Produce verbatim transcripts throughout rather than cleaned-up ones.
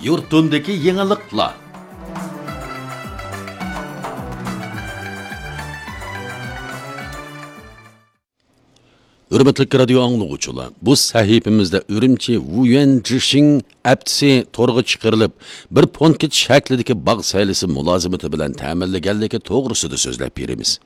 يۇرتۇمدىكى يېڭىلىقلار. ھۆرمەتلىك رادىيو ئاڭلىغۇچىلار، بۇ سەھىپىمىزدە ئۈرۈمچى ۋۇيۈەن جىشىڭ ئەپتىسى تورغا چىقىرىلىپ، بىر پونكىت شەكلىدىكى باغ سەيلىسى مۇلازىمىتى بىلەن تەمىنلىگەنلىكى توغرىسىدا سۆزلەپ بېرىمىز.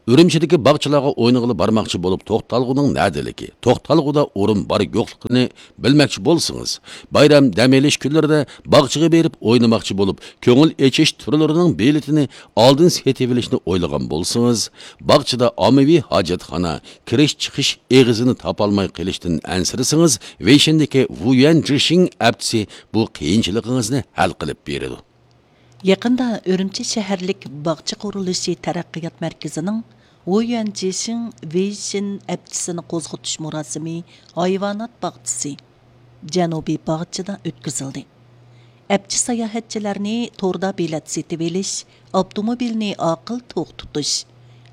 ئۈرۈمچىدىكى باغچىلارغا ئوينىغىلى بارماقچى بولۇپ، توختالغۇنىڭ نەدىلىكى، توختالغۇدا ئورۇن بار يوقلۇقىنى بىلمەكچى بولسىڭىز، بايرام دەم ئېلىش كۈنلىرىدە باغچىغا بېرىپ ئوينىماقچى بولۇپ، كۆڭۈل ئېچىش تۈرلىرىنىڭ بېلىتىنى ئالدىن سېتىۋېلىشنى ئويلىغان بولسىڭىز، باغچىدا ئاممىۋى ھاجەتخانا، كىرىش-چىقىش ئېغىزىنى تاپالماي قېلىشتىن ئەنسىرىسىڭىز، ۋېيشىندىكى ۋۇيۈەن جىشىڭ ئەپتىسى بۇ قىيىنچىلىقىڭىزنى ھەل قىلىپ بېرىدۇ. يېقىندا ئۈرۈمچى شەھەرلىك باغچە قۇرۇلۇشى تەرەققىيات مەركىزىنىڭ ۋۇيۈەن جىشىڭ ۋېيشىن ئەپچىسىنى قوزغىتىش مۇراسىمى ھايۋانات باغچىسى، جەنۇبىي باغچىدا ئۆتكۈزۈلدى. ئەپچى ساياھەتچىلەرنى توردا بېلەت سېتىۋېلىش، ئاپتوموبىلنى ئاقىل توختىتىش،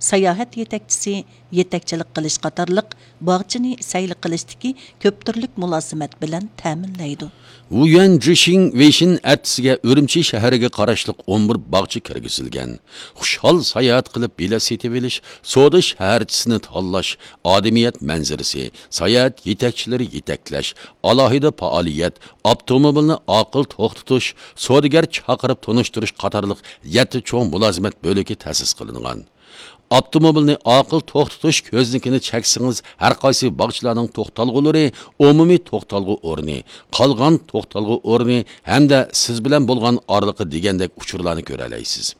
ساياھەت يېتەكچىسى يېتەكچىلىك قىلىش قاتارلىق باغچىنى سەيلە قىلىشتىكى كۆپ تۈرلۈك مۇلازىمەت بىلەن تەمىنلەيدۇ. ۋۇيۈەن جىشىڭ ۋېيشىن ئەپچىسىگە ئۈرۈمچى شەھىرىگە قاراشلىق ئون بىر باغچە كىرگۈزۈلگەن. خۇشال ساياھەت قىلىپ بېلەت سېتىۋېلىش، سودا شەھەرچىسىنى تاللاش، ئادەمىيەت مەنزىرىسى، ساياھەت يېتەكچىلىرى يېتەكلەش، ئالاھىدە پائالىيەت، ئاپتوموبىلنى ئاقىل توختىتىش، سودىگەر چاقىرىپ تونۇشتۇرۇش قاتارلىق يەتتە چوڭ مۇلازىمەت بۆلىكى تەسىس قىلىنغان. ئاپتوموبىلنى ئاقىل توختىتىش كۆزنىكىنى چەكسىڭىز، ھەر قايسى باغچىلارنىڭ توختالغۇلىرى، ئومۇمىي توختالغۇ ئورنى، قالغان توختالغۇ ئورنى ھەمدە سىز بىلەن بولغان ئارىلىقى دېگەندەك ئۇچۇرلارنى كۆرەلەيسىز.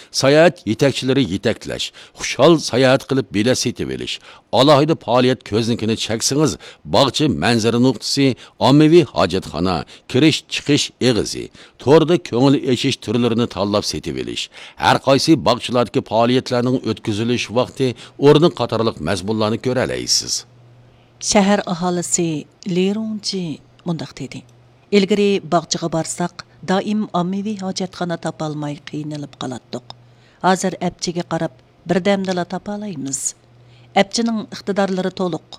ساياھەت يېتەكچىلىرى يېتەكلەش، خۇشال ساياھەت قىلىپ بېلەت سېتىۋېلىش، ئالاھىدە پائالىيەت كۆزنىكىنى چەكسىڭىز، باغچە مەنزىرە نۇقتىسى، ئاممىۋى ھاجەتخانا، كىرىش-چىقىش ئېغىزى، توردا كۆڭۈل ئېچىش تۈرلىرىنى تاللاپ سېتىۋېلىش، ھەر قايسى باغچىلاردىكى پائالىيەتلەرنىڭ ئۆتكۈزۈلۈش ۋاقتى، ئورنى قاتارلىق مەزمۇنلارنى كۆرەلەيسىز. شەھەر ئاھالىسى لى رۇڭجى مۇنداق دېدى: «ئىلگىرى باغچىغا بارساق، دائىم ئاممىۋى ھاجەتخانا تاپالماي قىينىلىپ قالاتتۇق. ھازىر ئەپچىگە قاراپ، بىردەمدىلا تاپالايمىز. ئەپچىنىڭ ئىقتىدارلىرى تولۇق،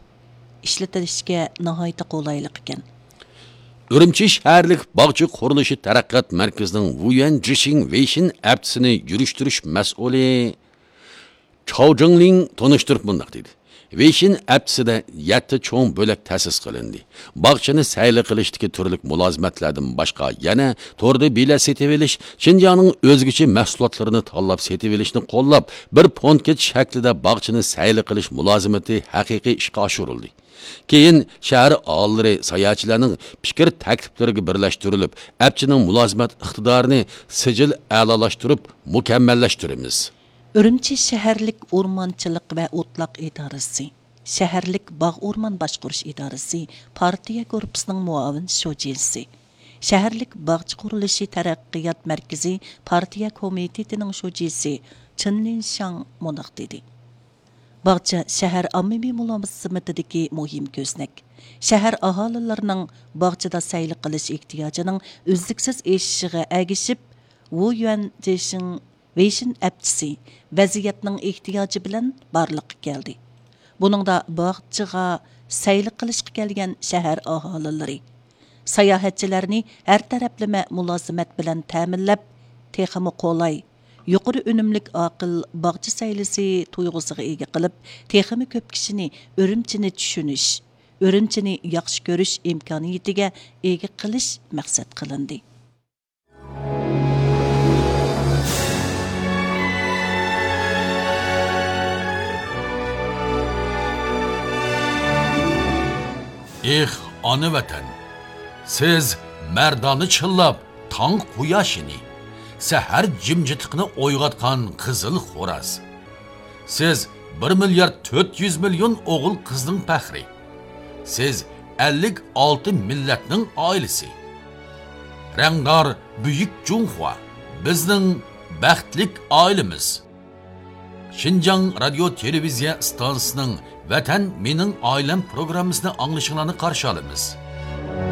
ئىشلىتىلىشكە ناھايىتى قولايلىق ئىكەن.» ئۈرۈمچى شەھەرلىك باغچە قۇرۇلۇشى تەرەققىيات مەركىزىنىڭ ۋۇيۈەن جىشىڭ ۋېيشىن ئەپچىسىنى يۈرۈشتۈرۈش مەسئۇلى چاۋ جىڭلىڭ تونۇشتۇرۇپ مۇنداق دېدى: «ۋېيشىن ئەپچىسىدە يەتتە چوڭ بۆلەك تەسىس قىلىندى. باغچىنى سەيلە قىلىشتىكى تۈرلۈك مۇلازىمەتلەردىن باشقا، يەنە توردا بېلەت سېتىۋېلىش، شىنجاڭنىڭ ئۆزگىچە مەھسۇلاتلىرىنى تاللاپ سېتىۋېلىشنى قوللاپ، بىر پونكىت شەكلىدە باغچىنى سەيلە قىلىش مۇلازىمىتى ھەقىقىي ئىشقا ئاشۇرۇلدى. كېيىن شەھەر ئاھالىلىرى، ساياھەتچىلەرنىڭ پىكىر تەكلىپلىرىگە بىرلەشتۈرۈلۈپ، ئەپچىنىڭ مۇلازىمەت ئىقتىدارىنى سىجىل ئەلالاشتۇرۇپ مۇكەممەللەشتۈرىمىز.» ئۈرۈمچى شەھەرلىك ئورمانچىلىق ۋە ئوتلاق ئىدارىسى، شەھەرلىك باغ ئورمان باشقۇرۇش ئىدارىسى پارتىيە گۇرۇپپىسىنىڭ مۇئاۋىن شۇجىسى، شەھەرلىك باغچە قۇرۇلۇشى تەرەققىيات مەركىزى پارتىيە كومىتېتىنىڭ شۇجىسى چېن لىنشاڭ مۇنداق دېدى: «باغچە شەھەر ئاممىۋى مۇلازىمىتىدىكى مۇھىم كۆزنەك. شەھەر ئاھالىلىرىنىڭ باغچىدا سەيلە قىلىش ئېھتىياجىنىڭ ئۈزلۈكسىز ئېشىشىغا ئەگىشىپ، ۋۇيۈەن جېشىڭ ۋېيشىن ئەپچىسى ۋەزىيەتنىڭ ئېھتىياجى بىلەن بارلىققا كەلدى. بۇنىڭدا باغچىغا سەيلە قىلىشقا كەلگەن شەھەر ئاھالىلىرى، ساياھەتچىلەرنى ھەر تەرەپلىمە مۇلازىمەت بىلەن تەمىنلەپ، تېخىمۇ قولاي، يۇقىرى ئۈنۈملۈك ئاقىل باغچە سەيلىسى تۇيغۇسىغا ئىگە قىلىپ، تېخىمۇ كۆپ كىشىنى ئۈرۈمچىنى چۈشىنىش، ئۈرۈمچىنى ياخشى كۆرۈش ئىمكانىيىتىگە ئىگە قىلىش مەقسەت قىلىندى.» ئېھ، ئانا ۋەتەن! سىز مەردانە چىللاپ تاڭ قۇياشىنى، سەھەر جىمجىتلىقىنى ئويغاتقان قىزىل خوراز. سىز بىر مىليارد تۆت يۈز مىليون ئوغۇل-قىزنىڭ پەخرى. سىز ئەللىك ئالتە مىللەتنىڭ ئائىلىسى. رەڭدار بۈيۈك جۇڭخۇا، بىزنىڭ بەختلىك ئائىلىمىز. شىنجاڭ رادىيو تېلېۋىزىيە ئىستانسىسىنىڭ ۋەتەن مېنىڭ ئائىلەم پروگراممىسىنى ئاڭلىشىڭلارنى قارشى ئالىمىز.